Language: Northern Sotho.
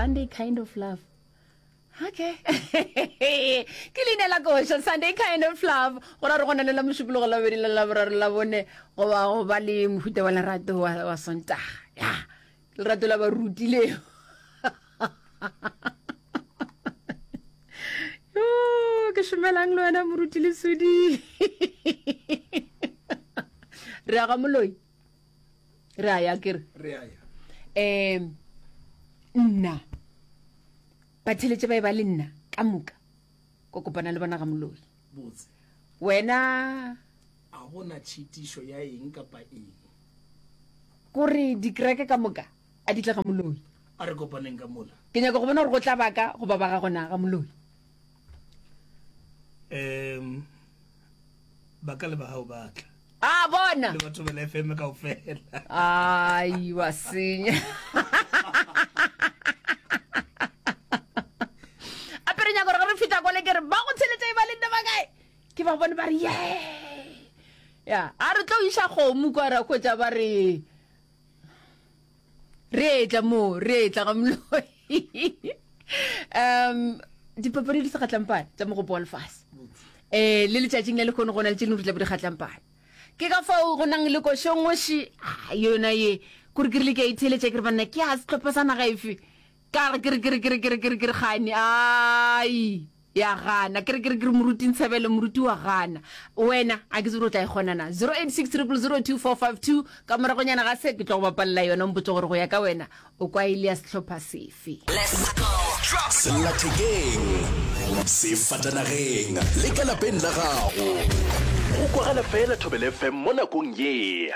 Sunday kind of love. Okay. Ke leina la koša Sunday kind of love. Go ra re gona le la mošupologo la bobedi le la boraro la bone goba go ba le mohuta wa lerato wa, wa Sontaga. Ya. Lerato la baruti leo. Yo, ke šomelang le wena moruti Lesodi. Re ya ga moloi. Re a ya kere. Re a ya. Um nna batheletše ba e ba le nna ka moka ko kopana le bona ga moloi. Botse. Wena A gona tšhitišo ya eng kapa eng. Kore dikereke ka moka a di tle ga moloi. A re kopaneng ka mola. Ke nyaka go bona gore go tla ba ka goba ba gago na ga moloi. Um ba ka le ba gago ba tla. A bona. Le batho ba FM kaofela. Ai wa senya. Ape re nyaka gore ge re fihla kole ke re ba go tsheletša e ba le nna ba kae? Ke ba bone ba re ye. Ya, a re tlo iša kgomo kwa ra hwetša ba re re etla mo re etla ga moloi um dipapadi di segatlampane tša mogopo wa lefase um le letšatšing la lekgono go na le tše dingwe di tla bo di kgatlampane ke ka fao go nang le košongoši ah, yona ye kore ke rile ke a itheeletša ke re banna ke a sehlopha sa naga efe Ka re, Ke re, ke re, ke re, ke re, ke re, ke re, Kgane, ai, ya gana. Ke re, ke re, ke re, Moruti Ntshebele, moruti wa gana. Wena, a ke tsebe gore o tla e kgona na. 086 000 2452, ka moragonyana ga se, ke tlo go bapalela yona, o mpotše gore go ya ka wena, o kwa e le ya sehlopha sefe. Sellathekeng, sefatanageng le ka lapeng la gago. Go kwagala fela Thobela FM mo nakong ye.